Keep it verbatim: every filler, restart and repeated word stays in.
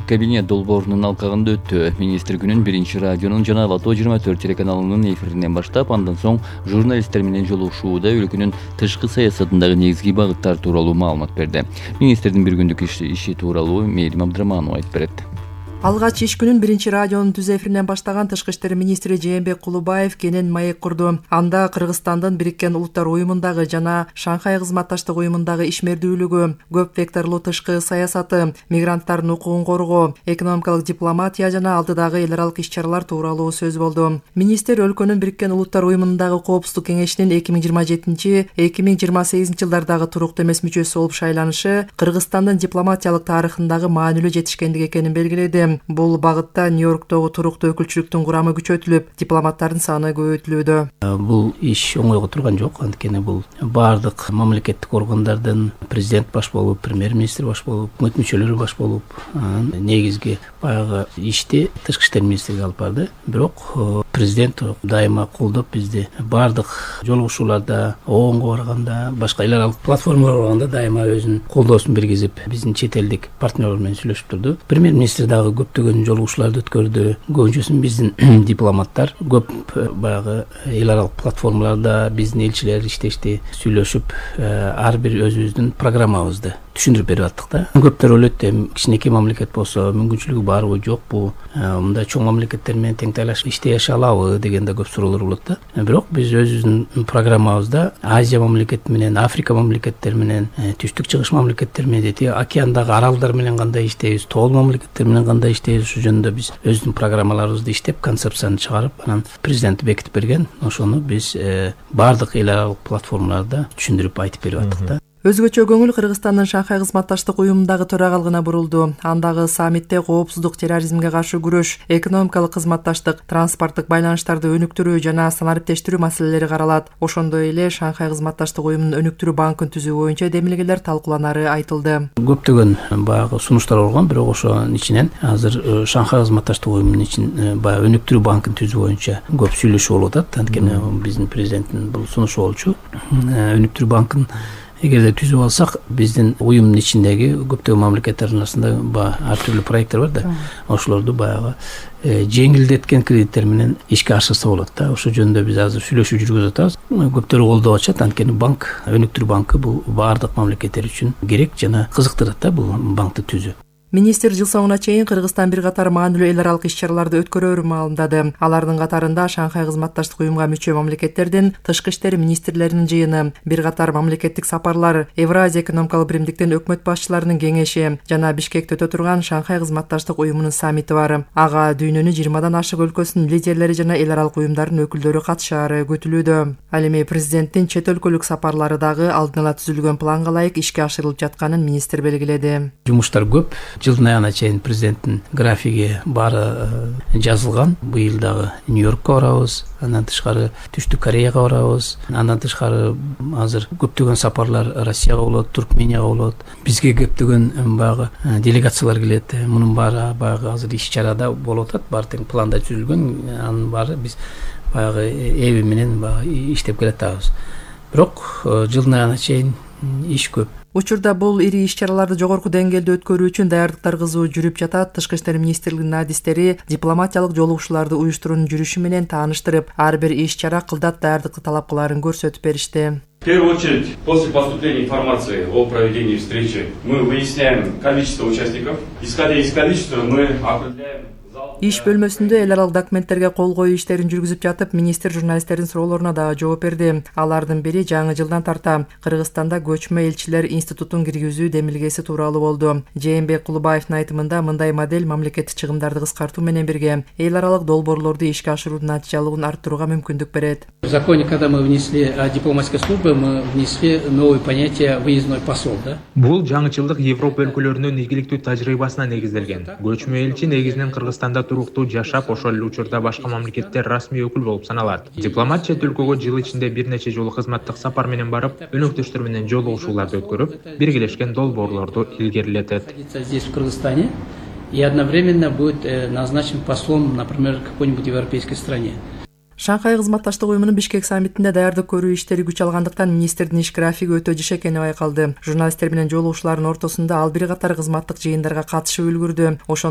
кабинет долбоорунун алкагында өттү. Министр күнүн биринчи радионун жана Лото жыйырма төрт телеканалынын эфиринен баштап, андан соң журналисттер менен жолугушууда өлкөнүн тышкы саясатындагы негизги багыттар тууралуу маалымат берди. Министрдин бир күндүк иши тууралуу Мээрим Абдыраманова айтып берет. Алгач иш күнүн биринчи радионун түз эфиринен баштаган Тышкы иштер министри Жээнбек Кулубаев кенен маек курду. Анда Кыргызстандын Бириккен Улуттар уюмундагы жана Шанхай кызматташтык уюмундагы ишмердүүлүгү, көп векторлуу тышкы саясаты, мигранттардын укугун коргоо, экономикалык дипломатия жана алдыдагы эл аралык иш-чаралар тууралуу сөз болду. Министр өлкөнүн Бириккен Улуттар уюмундагы Коопсуздук кеңешинин эки миң жыйырма жетинчи — эки миң жыйырма сегизинчи жылдардагы туруктуу эмес мүчөсү болуп шайланышы Кыргызстандын дипломатиялык тарыхындагы маанилүү жетишкендик экенин белгиледи. Бул багытта Нью-Йорктогу туруктуу өкүлчүлүктүн курамы күчөтүлүп, дипломаттардын саны көбөйтүлүүдө. Бул иш оңойго турган жок, анткени бул баардык мамлекеттик органдардын президент баш болуп, премьер-министр баш болуп, өкмөт мүчөлөрү баш болуп, негизги баягы ишти тышкы иштер министрлиги алып барды. Бирок президент дайыма колдоп бизди баардык жолугушууларда, ООНго барганда, башка эл аралык платформаларга барганда дайыма өзүнүн колдоосун бергизип, биздин чет элдик партнерлор менен сүйлөшүп турду. Премьер-министр дагы көптөгөн жолугушууларды өткөрдү. Көбүнчөсүн биздин дипломаттар көп баягы эл аралык платформаларда биздин элчилер иштешти, сүйлөшүп, ар бир өзүбүздүн программабызды түшүндүрүп берип аттык да. Көптөр ойлойт, кичинекей мамлекет болсо мүмкүнчүлүгү барбы, жокпу, мындай чоң мамлекеттер менен тең тайлашып иштей алабы деген да көп суроолор болот да. Бирок биз өзүбүздүн программабызда Азия мамлекети менен, Африка мамлекеттери менен, түштүк чыгыш мамлекеттери менен, дети океандагы аралдар менен кандай иштейбиз, тоол мамлекеттер менен кандай иштейбиз, ушул жөнүндө биз өзүбүздүн программаларыбызды иштеп, концепцияны чыгарып, анан президент бекитип берген. Ошону биз баардык эл аралык платформаларда түшүндүрүп айтып берип аттык да. Өзгөчө көңүл Кыргызстандын Шанхай кызматташтык уюмундагы төрагалыгына бурулду. Андагы саммитте коопсуздук, терроризмге каршы күрөш, экономикалык кызматташтык, транспорттук байланыштарды өнүктүрүү жана санариптештирүү маселелери каралат. Ошондой эле Шанхай кызматташтык уюмунун өнүктүрүү банкын түзүү боюнча демилгелер талкууланары айтылды. Көптөгөн баягы сунуштар болгон, бирок ошонун ичинен азыр Шанхай кызматташтык уюмунун ичин баягы өнүктүрүү банкын түзүү боюнча көп сүйлөшүү болуп атат. Анткени биздин президенттин бул сунушу болчу. Өнүктүрүү банкын эгерде түзүп алсак, биздин уюмдун ичиндеги көптөгөн мамлекеттердин арасында баягы ар түрдүү проекттер бар да. Ошолорду баягы жеңилдеткен кредиттер менен ишке ашырса болот да. Ошол жөнүндө биз азыр сүйлөшүү жүргүзүп атабыз. Көптөрү колдоп атышат, анткени банк, өнүктүрүү банкы бул баардык мамлекеттер үчүн керек жана кызыктырат да бул банкты түзүү. Министр жыл соңуна чейин Кыргызстан бир катар маанилүү эл аралык иш-чараларды өткөрөөрүн маалымдады. Алардын катарында Шанхай кызматташтык уюмга мүчө мамлекеттердин тышкы иштер министрлеринин жыйыны, бир катар мамлекеттик сапарлар, Евразия экономикалык биримдиктин өкмөт башчыларынын кеңеши жана Бишкекте өтө турган Шанхай кызматташтык уюмунун саммити бар. Ага дүйнөнүн жыйырмадан ашык өлкөсүнүн лидерлери жана эл аралык уюмдардын өкүлдөрү катышаары күтүлүүдө. Ал эми президенттин чет өлкөлүк сапарлары дагы алдын ала түзүлгөн планга ылайык ишке ашырылып жатканын министр белгиледи. Жумуштар көп. Жылдын аягына чейин президенттин графиги баары жазылган. Быйыл дагы Нью-Йоркко барабыз, андан тышкары Түштүк Кореяга барабыз, андан тышкары азыр көптөгөн сапарлар Россияга болот, Туркменияга болот. Бизге көптөгөн баягы делегациялар келет. Мунун баары баягы азыр иш-чарада болуп атат, баары тең планда түзүлгөн. Анын баары биз баягы эби менен баягы иштеп келатабыз. Бирок жылдын аягына чейин иш көп. Учурда бул ири иш-чараларды жогорку деңгээлде өткөрүү үчүн даярдыктар кызуу жүрүп жатат. Тышкы иштер министрлигинин адистери дипломатиялык жолугушууларды уюштуруунун жүрүшү менен тааныштырып, ар бир иш-чара кылдат даярдыкты талап кылаарын көрсөтүп беришти. В первую очередь, после поступления информации о проведении встречи, мы выясняем количество участников. Исходя из количества, мы определяем... Иш бөлмөсүндө эл аралык документтерге кол коюу иштерин жүргүзүп жатып, министр журналисттердин суроолоруна дагы жооп берди. Алардын бири жаңы жылдан тарта Кыргызстанда көчмө элчилер институтун киргизүү демилгеси тууралуу болду. Жээнбек Кулубаевдин айтымында мындай модель мамлекеттик чыгымдарды кыскартуу менен бирге эл аралык долбоорлорду ишке ашыруунун натыйжалуулугун арттырууга мүмкүндүк берет. В законе, когда мы внесли дипломатической службы, мы внесли новое понятие выездной посол, да? Бул жаңычылдык Европа өлкөлөрүнүн ийгиликтүү тажрыйбасына негизделген. Көчмө элчи негизинен Кыргызстанда туруктуу жашап, ошол эле учурда башка мамлекетте расмий өкүл болуп саналат. Дипломат чет өлкөгө жыл ичинде бир нече жолу кызматтык сапар менен барып, өнөктөштөр менен жолугушууларды өткөрүп, биргелешкен долбоорлорду илгерилетет. Здесь в Кыргызстане и одновременно будет назначен послом, например, какой-нибудь европейской стране. Шанхай кызматташтык уюмунун Бишкек саммитинде даярдык көрүү иштери күч алгандыктан министрдин иш графиги өтө жыш экени байкалды. Журналисттер менен жолугушуулардын ортосунда ал бир катар кызматтык жыйындарга катышып үлгүрдү. Ошон